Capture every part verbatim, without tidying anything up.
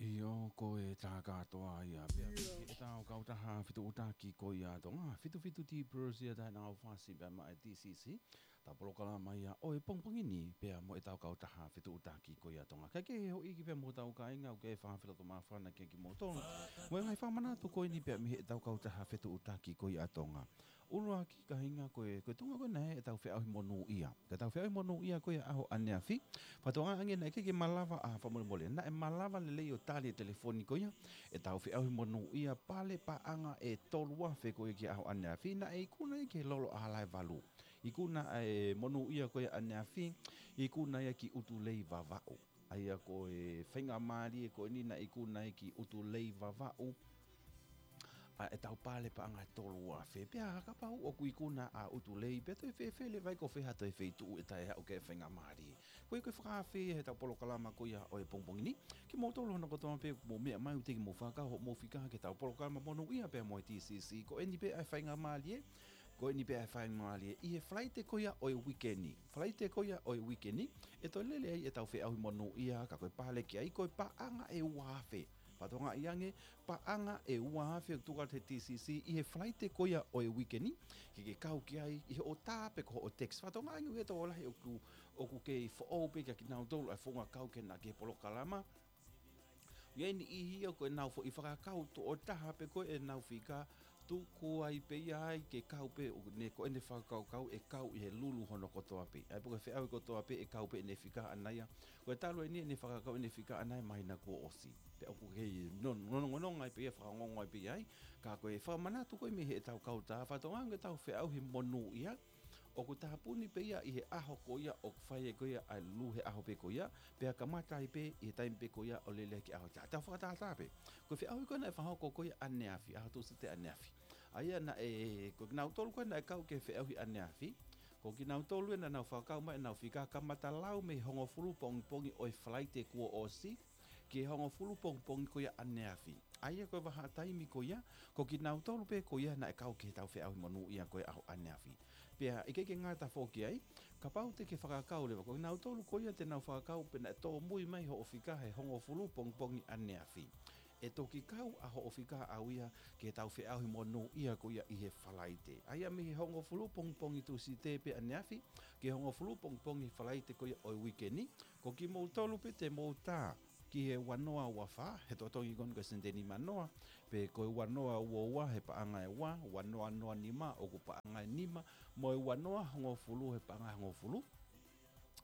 ʻIo, ko e tā kātoa ia pea mei heʻetau kautaha fetuʻutaki ko ia ʻa Tonga, fitu fitu T Purse ia tae nau fasi pea maʻa e T C C, ʻetau polokalama ia ʻo e pongipongi ni pea mo ʻetau kautaha fetuʻutaki ko ia ʻa Tonga. Kae kehe hoʻo ʻi ai pea mo hotau kāinga, ʻoku ou fakafelotomāfana ki ai kimoutolu mo e ngaahi fakamanatu ko eni pea mei heʻetau kautaha fetuʻutaki ko ia ʻa Tonga. ʻUluaki kāinga, ko e, ko e tuʻunga ko ena ʻetau feʻauhi monūʻia. Ko ʻetau feʻauhi monūʻia ko ia ʻaho ʻaneafi. Fakatokangaʻi ange naʻe ʻikai ke malava, ʻa, fakamolemole, naʻe malava lelei ʻo tali e telefoni ko ia ʻetau feʻauhi monūʻia pale paʻanga ʻe tolu afe ko ia ki he ʻaho ʻaneafi, naʻe ikuna ia ki he lolo ʻaho ʻe valu. Ikuna e monūʻia ko ia ʻaneafi, ikuna ia ki ʻUtulei Vavaʻu. ʻA ia ko e faingamālie ko eni naʻe ikuna ia ki ʻUtulei Vavaʻu ʻa ʻetau pale paʻanga ʻe tolu afe. Pea kapau ʻoku ikuna ʻa ʻUtulei, pea toe fēfē leva ai, ko fē ha toe feituʻu ʻe taʻe aʻu ki he faingamālie. Ko ia ko e fakaafe ia heʻetau polokalama ko ia ʻo e pongipongi ni. Kimoutolu hono kotoa pē ʻoku mou meʻa mai, ʻoku teʻeki ke mou fakakau hoʻomou fika ki heʻetau polokalama monūʻia pea mo e T C C. Ko eni pē ʻa e faingamālie, ko eni pē ʻa e faingamālie ʻi he Falaite ko ia ʻo e uike ni. Falaite ko ia ʻo e uike ni, ʻe toe lele ai ʻetau feʻauhi monūʻia, ka ko e pale ki ai ko e paʻanga ʻe ua afe. Fakatokangaʻi ange, paʻanga ʻe ua afe ʻoku tuku atu ʻe he T C C ʻi he Falaite ko ia ʻo e uike ni, ke ke kau ki ai ʻi hoʻo tā pe ko hoʻo text. Fakatokangaʻi ange ʻoku ʻi ai e tokolahi ʻoku, ʻoku kei foʻou pē kiate kinautolu ʻa e founga kau ki he, ki he polokalama. ʻI ai e niʻihi ia ko ʻenau foʻi fakakau tokotaha pē ko ē ʻenau fika, tuku ai pē ia ai ke kau pē, ʻo ne ko ʻene fakakaukau ʻe kau ʻi he lulu hono kotoa pē. ʻA ia pe ko e feʻauhi kotoa pē ʻe kau pē ʻene fika ʻaʻana ia. Ko e talu eni ʻene fakakau ʻene fika ʻaʻana ia, māhina kuo ʻosi. Pea ʻoku kei non-, nonongononga ai pē ia, fakaongoongo ai pē ia ai. Ka ko e fakamanatu ko ē mei heʻetau kautaha, fakatokangaʻi ange ʻetau feʻauhi monūʻia ʻoku tāpuni pē ia ʻi he ʻaho ko ia ʻoku fai ai ko ia ʻa e lulu he ʻaho pē ko ia, pea kamata ai pē ʻi he taimi pē ko ia ʻo lele ai ki he ʻaho ʻe taha. Tau fakatātā pē. Ko e feʻauhi ko ē naʻe fakahoko ko ia ʻaneafi, ʻaho Tūsite ʻaneafi. ʻA ia naʻe, ko kinautolu ko ē naʻe kau ki he feʻauhi ʻaneafi, ko kinautolu ē naʻa nau fakakau mai ʻenau fika kamata lau mei he hongofulu pongipongi ʻo e Falaite kuo ʻosi, ki he hongofulu pongipongi ko ia ʻaneafi. ʻA ia ko e vahaʻa taimi ko ia, ko kinautolu pē ko ia naʻe kau ki heʻetau feʻauhi monūʻia ko ia ʻaho ʻaneafi. Pea ʻikai ke ngata foki ai, kapau te ke fakakau leva, ko kinautolu ko ia te nau fakakau pē naʻe tōmui mai hoʻo fika he hongofulu pongipongi ʻaneafi, ʻe toki kau ʻa hoʻo fika ʻaʻau ia ki heʻetau feʻauhi monūʻia ko ia ʻi he Falaite. ʻA ia mei he hongofulu pongipongi Tūsite pē ʻaneafi, ki he hongofulu pongipongi Falaite ko ia ʻo e uike ni, ko kimoutolu pē te mou tā ki he ua noa ua fā, he totongi ko eni ko e sēniti ʻe nima noa, pe ko e ua noa ua ua he paʻanga ʻe ua, ua noa noa nima ʻoku paʻanga ʻe nima, mo e ua noa hongofulu he paʻanga ʻe hongofulu.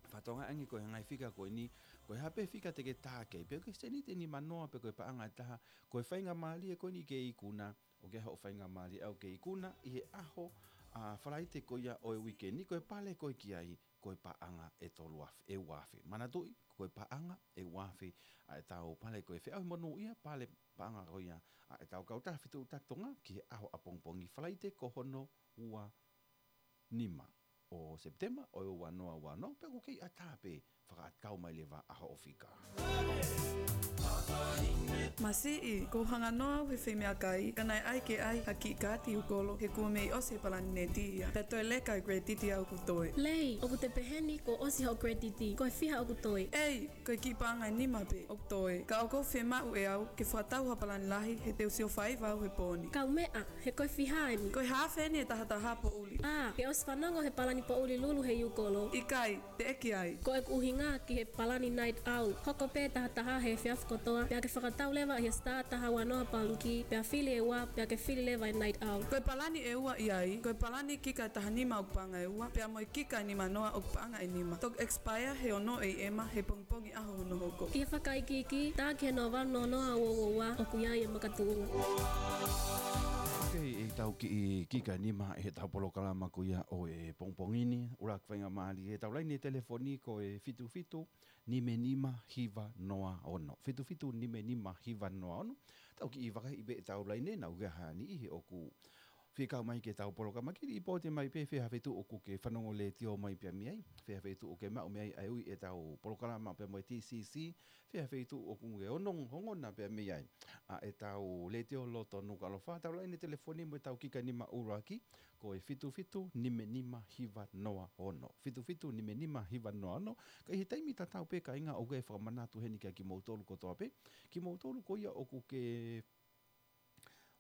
Fakatokangaʻi ange ko e ngaahi fika ko eni, ko e hā pē fika te ke tā ki ai, pe ko e sēniti ʻe nima noa, pe ko e paʻanga ʻe taha, ko e faingamālie ko eni ke ikuna, ʻoku ʻi ai hoʻo faingamālie ʻaʻau ke ikuna ʻi he ʻaho, ʻa, Falaite ko ia ʻo e uike ni, ko e pale ko ē ki ai, ko e paʻanga ʻe tolu afe, ʻe ua afe. Manatuʻi, ko e paʻanga ʻe ua afe ʻa ʻetau pale ko ē feʻauhi monūʻia, pale paʻanga ko ia ʻa ʻetau kautaha fetuʻutaki Tonga ki he ʻaho ʻapongipongi Falaite ko hono ua nima ʻo Sepitema ʻo e ua noa ua noa, pea ʻoku kei ʻatā pē fakakau mai leva ʻa hoʻo fika. Masiʻi, kuo u hanga noa au he fai meʻakai, ka naʻe ʻai ke ʻai ha kiʻi kaati ʻi ʻUkolo, he kuo mei ʻosi e palani neti ia. Pea toe leka e credit ia ʻoku toe. Lei, ʻoku te pehē ni kuo ʻosi hoʻo credit, ko e fiha ʻoku toe? ʻEi, ko e kiʻi paʻanga ʻe nima pē ʻoku toe. Ka ʻoku ou fiemaʻu ʻe au ke fakatau ha palani lahi, he te u sio faiva au he pō ni. Kaumeʻa, he ko e fiha eni? Ko e haafe eni ʻe tahataha poʻuli. ʻĀ, ke ʻosi fanongo he palani poʻuli lulu he ʻUkolo? ʻIkai, teʻeki ai. Ko ʻeku ʻuhinga ki he palani night out. Hoko pē tahataha he efiafi kotoa, pea ke fakatau leva ʻi he Star taha ua noa pangikē, pea fili e ua, pea ke fili leva e night out. Ko e palani ʻe ua ʻi ai, ko e palani kika ʻe taha nima ʻoku paʻanga ʻe ua, pea mo e kika ʻe nima noa ʻoku paʻanga ʻe nima. Toki expire he ono ʻe ema he pongipongi ʻaho hono hoko. ʻI he fakaikiiki, tā ki he noa valu noa noa ua ua ua, ʻoku ʻi ai e makatuʻunga. ʻOku ʻi ai ʻetau kiʻi kika ʻe nima ʻi heʻetau polokalama ko ia ʻo e pongipongi ni. ʻUluaki faingamālie, ʻetau laine telefoni ko e fitu fitu nima nima hiva noa ono. Fitu fitu nima nima hiva noa ono. Tau kiʻi vakaiʻi pē ʻetau laine, naʻa ʻoku ʻi ai ha niʻihi ʻoku Fekau mai ke tau polokalama ki, lipooti mai pē fē ha feituʻu ʻoku ke fanongo letiō mai pea mei ai, fē ha feituʻu ʻoku ke maʻu mei ai ʻa e ui ʻetau polokalama pea mo e T C C, fē ha feituʻu ʻoku ke onong ongona pea mei ai ʻa ʻetau letiō loto Nukuʻalofa. Tau laine telefoni mo ʻetau kika nima ʻuluaki, ko e fitu fitu nima nima hiva noa ono. Fitu fitu nima nima hiva noa ono. Ka ʻi he taimi tatau pē, kāinga, ʻoku ou fakamanatu heni kia kimoutolu kotoa pē, kimoutolu ko ia ʻoku ke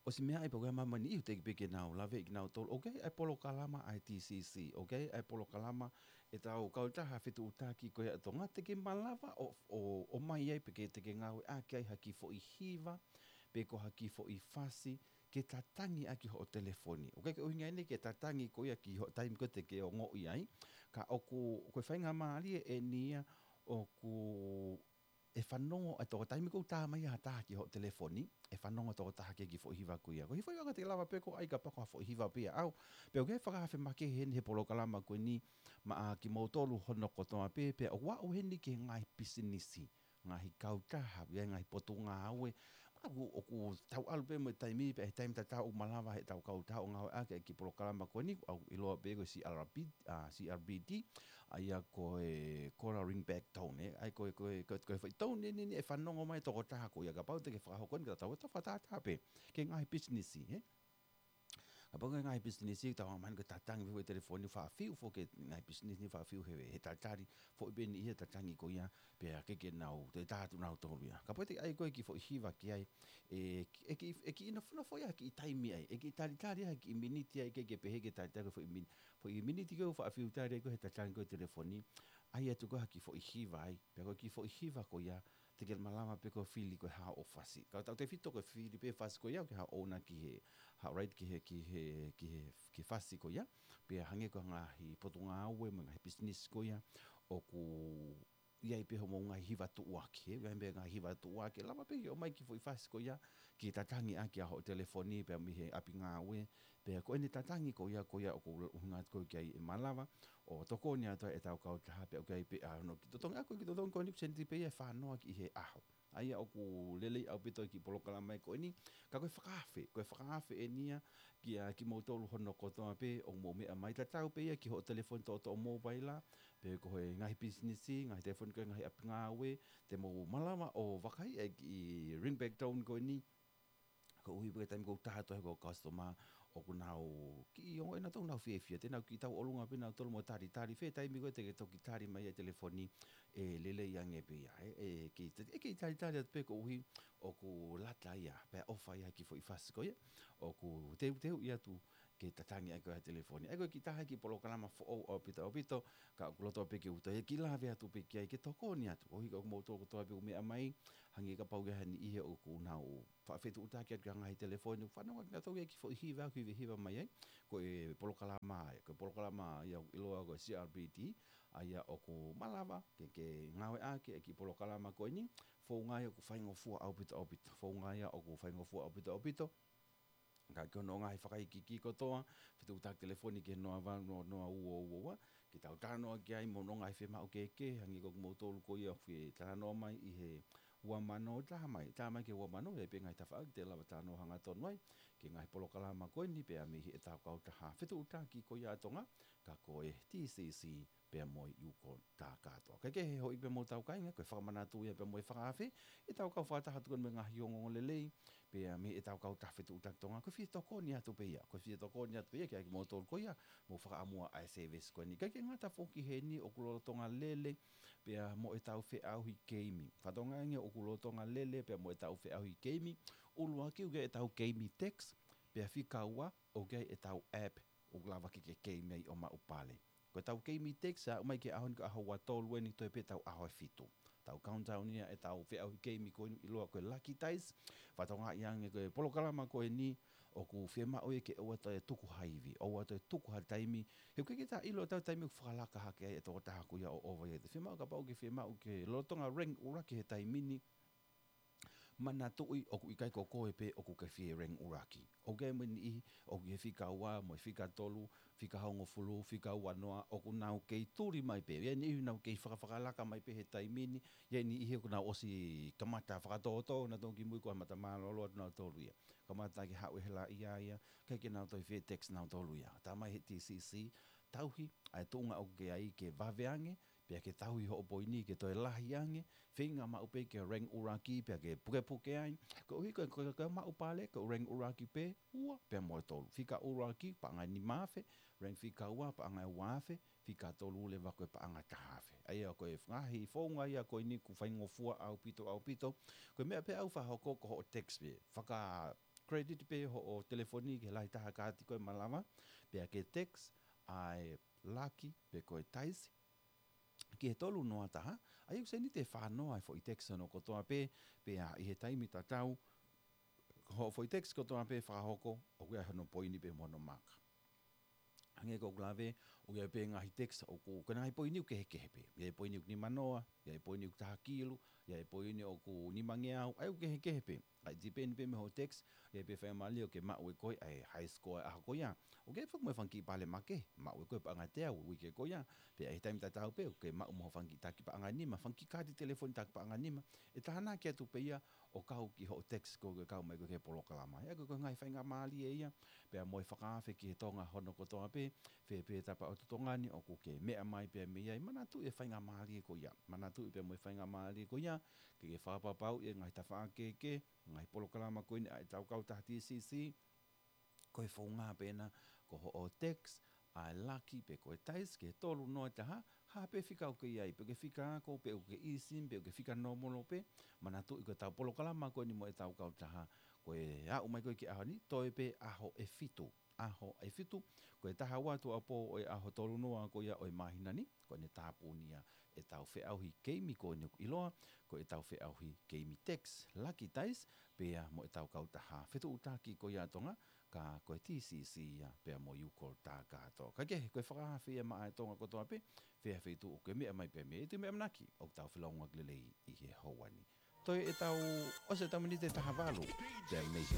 ʻosi meaʻi pe ʻoku ke ʻi ai ha meʻa ʻoku ke teʻeki pē ke nau lave ʻi kinautolu. ʻOku ʻi ai ʻa e polokalama ʻa e T C C. ʻOku ʻi ai ʻa e polokalama ʻetau kautaha fetuʻutaki ko ia ʻa Tonga, te ke malava ʻo, ʻo, ʻomai ai pe ke te ke ngāueʻaki ai ha kiʻi foʻi hiva, pe ko ha kiʻi foʻi fasi, ke tatangi ʻaki hoʻo telefoni. ʻOku ʻikai ke ʻuhinga eni ke tatangi ko ia ki hoʻo taimi ko ē te ke ongoʻi ai, ka ʻoku, ko e faingamālie eni ia ʻoku ʻe fanongo ʻa e tokotaha, taimi ʻoku tā mai ha taha ki hoʻo telefoni, ʻe fanongo tokotaha ki he kiʻi foʻi hiva ko ia. Ko e foʻi hiva ko ē te ke lava pē ʻo ʻai kapau ko ha foʻi hiva pē ia ʻaʻau. Pea ʻoku ʻi ai e fakaafe makehe heni he polokalama ko eni maʻa kimoutolu hono kotoa pē, pea ʻoku aʻu heni ki he ngaahi pisinisi, ngaahi kautaha, ʻi ai ngaahi potungāue. ʻOku, ʻoku tau ʻalu pē mo e taimi, pea ʻi he taimi tatau ʻoku malava heʻetau kautaha ʻo ngāueʻaki e kiʻi polokalama ko eni, ʻoku ʻiloa pē ko e C R B, ʻa, C R B T, ʻa ia ko e Call Ring Back Tone, ē. ʻA ia ko e, ko e, ko e, ko e foʻi tone ni, ni ʻe fanongo mai tokotaha ko ia, kapau te ke fakahoko eni, ka tau, tau fakatātā pē ki he ngaahi pisinisi, ē. Kapau ko e ngaahi pisinisi, tau hanga mai ko e tatangi foʻi telefoni, faʻa fiu foki e ngaahi pisinisi ni, faʻa fiu he, he talitali, foʻi pē ni ʻi he tatangi ko ia, pea ke ke nau, te tā atu nautolu ia. Kapau te ʻai ko e kiʻi foʻi hiva ki ai, ʻe, ʻe kiʻi, ʻe kiʻi nofonofo ia ha kiʻi taimi ai, ʻe kiʻi talitali ha kiʻi miniti ai, ke ke pehē ke talitali ko e foʻi min-, foʻi miniti ko ē ʻoku faʻa fiu tali ai ko ē he tatangi ko ē telefoni, ʻai atu ko ē ha kiʻi foʻi hiva ai, pea ko e kiʻi foʻi hiva ko ia, te ke malava pē ko e fili ko ē haʻo fasi. Ka tautefito ko e fili pē fasi ko ia, ke haʻo ʻouna ki he, haʻo right ki he, ki he, ki he, ki he fasi ko ia, pea hangē ko e ngaahi potungāue mo e ngaahi pisinisi ko ia, ʻoku ʻi ai pē hoʻomou ngaahi hiva tuʻuaki, ē, ʻi ai pē ngaahi hiva tuʻuaki, lava pē ke ʻomai kiʻi foʻi fasi ko ia, ke tatangi ʻaki ʻa hoʻo telefoni, pea mei he ʻapi ngāue, pea ko ʻene tatangi ko ia, ko ia ʻoku ʻuhinga atu ko ē ki ai ʻe malava ʻo tokoni atu ai ʻetau kautaha, pea ʻoku ʻi ai pē ʻa hono kiʻi totongi, ʻa ko e kiʻi totongi ko eni, sēniti pē ia ʻe fā noa ki he ʻaho. ʻA ia ʻoku lelei ʻaupito e kiʻi polokalama ko eni, ka ko e fakaafe, ko e fakaafe eni ia kia kimoutolu hono kotoa pē ʻoku mou meʻa mai, tatau pē ia ki hoʻo telefoni toʻotoʻo mōpaila, pe ko e ngaahi pisinisi, ngaahi telefoni ko e ngaahi ʻapi ngāue, te mou malava ʻo vakai e kiʻi ring back tone ko eni, koeʻuhi pē ko e taimi ʻoku tā atu ai ko e customer, ʻoku nau kiʻi ongo ʻenautolu ʻoku nau fiefia, te nau kiʻi tauʻolunga pē nautolu mo talitali, fē taimi ko ē te ke toki tali mai e telefoni, ʻe lelei ange pē ia, ē, ʻe kiʻi, ʻe kiʻi talitali atu pē koeʻuhi ʻoku lata ia, pea ʻofa ia ki he foʻi fasi ko ia, ʻoku teuteu ia atu ke tatangi ai ko ē ha telefoni. ʻA ia ko e kiʻi taha e kiʻi polokalama foʻou ʻaupito ʻaupito, ka ʻoku loto pē ke u toe kiʻi lave atu pē ki ai ke tokoni atu. ʻOku ʻi ai kimoutolu kotoa pē ʻoku meʻa mai, hangē kapau ʻoku ʻi ai ha niʻihi ʻoku nau faʻa fetuʻutaki atu ki he ngaahi telefoni, ʻoku fanongo kinautolu ia ki he foʻi hiva, ʻoku hiva, hiva mai ai. Ko e polokalama ia, ko e polokalama ia ʻoku ʻiloa ko e C R B T, ʻa ia ʻoku malava ke, ke ngāueʻaki e kiʻi polokalama ko eni, founga ia ʻoku faingofua ʻaupito ʻaupito, founga ia ʻoku faingofua ʻaupito ʻaupito. Ka ki hono ngaahi fakaikiiki kotoa, fetuʻutaki telefoni ki he noa valu noa noa ua ua ua, ke tau talanoa ki ai mo hono ngaahi fiemaʻu kehekehe, hangē ko kimoutolu ko ia ʻoku fie talanoa mai ʻi he ua mano, tā mai, tā mai ki he ua mano, ʻi ai pē ngaahi tafaʻaki te lava talanoa hangatonu ai ki he ngaahi polokalama ko eni, pea mei heʻetau kautaha fetuʻutaki ko ia ʻa Tonga, ka ko e T C C pea mo e ʻIuko tā kātoa. Kae kehe, houʻeiki pea mo hotau kāinga, ko e fakamanatu ia pea mo e fakaafe ʻetau kau fakataha atu ko eni mo e ngaahi ongoongolelei, pea mei heʻetau kautaha fetuʻutaki Tonga, ko e fie tokoni atu pē ia, ko e fie tokoni atu pē ia kia kimoutolu ko ia ʻoku mou fakaʻamua ʻa e service ko eni. Kae ʻikai ke ngata foki heni, ʻoku lolotonga lele pea mo ʻetau feʻauhi keimi. Fakatokangaʻi ange ʻoku lolotonga lele pea mo ʻetau feʻauhi keimi, ʻuluaki ʻoku ʻi ai ʻetau keimi text, pea fika ua ʻoku ʻi ai ʻetau app ʻoku lava ke ke keimi ai ʻo maʻu pale. Ko ʻetau keimi text, aʻu mai ki he ʻaho ni ko e ʻaho ua tolu eni, toe pē ʻetau ʻaho ʻe fitu. Tau countdown ia ʻetau feʻauhi keimi ko eni ʻoku ʻiloa ko e Lucky Dice. Fakatokangaʻi ange ko e polokalama ko eni ʻoku fiemaʻu ia ke ʻoua toe tuku ha ivi, ʻoua toe tuku ha taimi. He ʻoku ʻikai ke ta ʻilo ʻetau taimi ʻoku fakalaka hake ai e tokotaha ko ia ʻo ʻova ia. Fiemaʻu kapau ʻoku ke fiemaʻu ke lolotonga ring ʻuluaki he taimi ni, Manatuʻi ʻoku ʻikai ko koe pē ʻoku ke fie rank ʻuluaki. ʻOku ʻi ai mo e niʻihi ʻoku ʻi he fika ua mo e fika tolu, fika hongofulu, fika uanoa, ʻoku nau kei tuli mai pē. ʻI ai e niʻihi nau kei fakafakalaka mai pē he taimi ni, ʻi ai e niʻihi ʻoku nau ʻosi kamata fakatōtō nautolu kimui ko e mata mālōlō atu nautolu ia. Kamata ke haʻu e hela ia ia, ʻikai ke nau toe fie text nautolu ia. Tā mai he T C C, tauhi ʻa e tuʻunga ʻoku ke ʻi ai ke vave ange, pea ke tauhi hoʻo poini ke toe lahi ange, feinga maʻu pē ke rank ʻuluaki, pea ke pukepuke ai. Koeʻuhi ko e, ko e, ko e maʻu pale, ko e rank ʻuluaki pē, ua, pea mo e tolu. Fika ʻuluaki, paʻanga ʻe nima afe, rank fika ua, paʻanga ʻe ua afe, fika tolu leva ko e paʻanga ʻe taha afe. ʻA ia ko e ngaahi founga ia ko eni ʻoku faingofua ʻaupito, ʻaupito. Ko e meʻa pē ʻoku fakahoko ko hoʻo text pē. Faka credit pē hoʻo telefoni ki he lahi taha kaati ko ē ʻe malava, pea ke text ʻa e laki pe ko e taisi ki he tolu noa taha, ʻa ia ʻoku seniti ʻe fā noa e foʻi text hono kotoa pē, pea ʻi he taimi tatau, hoʻo foʻi text kotoa pē fakahoko, ʻoku ʻi ai hono poini pē mo hono maka. Hangē ko ʻeku lave, ʻoku ʻi ai pē ngaahi text ʻoku, ko e ngaahi poini ʻoku kehekehe pē. ʻI ai e poini ʻoku nima noa, ʻi ai e poini ʻoku taha kilu, ʻi ai e poini ʻoku nimangeau, ʻa ia ʻoku kehekehe pē. ʻA ia ʻe depend pē mei hoʻo text, ʻe pē fai mali ʻoku ke maʻu ʻe koe ʻa e high score ʻo e ʻaho ko ia. ʻOku ʻi ai foki mo e fanga kiʻi pale makehe, maʻu ʻe koe paʻanga ʻe teau he uike ko ia. Pea ʻi he taimi tatau pē, ʻoku ke maʻu mo e fanga kiʻi taki paʻanga ʻe nima, fanga kiʻi kaati telefoni taki paʻanga ʻe nima. ʻE taha naʻa ke atu pē ia ʻo kau ki hoʻo text ko ē ʻoku ke kau mai ko ē ki he polokalama. ʻA ia ko e, ko e ngaahi faingamālie ia, pea mo e fakaafe ki he Tonga hono kotoa pē, fē pē tapa ʻo Tonga ni ʻoku ke meʻa mai pē mei ai, manatuʻi e faingamālie ko ia. Manatuʻi pē mo e faingamālie ko ia, ke ke fakapapauʻi e ngaahi tafaʻaki kehekehe, ngaahi polokalama ko eni ʻa ʻetau kautaha T C C, ko e founga pē ena, ko hoʻo text ʻa e laki pe ko e taisi ki he tolu noa taha, ha pē fika ʻoku ke ʻi ai, pe ʻoku ke fika ako, pe ʻoku ke eSIM, pe ʻoku ke fika nōmolo pē, manatuʻi ko ʻetau polokalama ko eni mo ʻetau kautaha, ko e aʻu mai ko ē ki he ʻaho ni, toe pē ʻaho ʻe fitu. ʻAho ʻe fitu, ko e taha ua tuʻuapō ʻo e ʻaho tolu noa ko ia ʻo e māhina ni, ko ʻene tāpuni ia ʻetau feʻauhi keimi ko eni ʻoku ʻiloa ko ʻetau feʻauhi keimi text, laki taisi, pea mo ʻetau kautaha fetuʻutaki ko ia ʻa Tonga, ka ko e T C C ia, pea mo e U-Call Takatō. Ka kehe, ko e fakaafe ia maʻa e Tonga kotoa pē, fē ha feituʻu ʻoku ke meʻa mai pē mei ai, ʻe tau meʻa manaki ʻoku tau felōngoaki lelei ʻi he houa ni. Toe ʻetau, ʻosi ʻetau miniti ʻe taha valu, pea mei he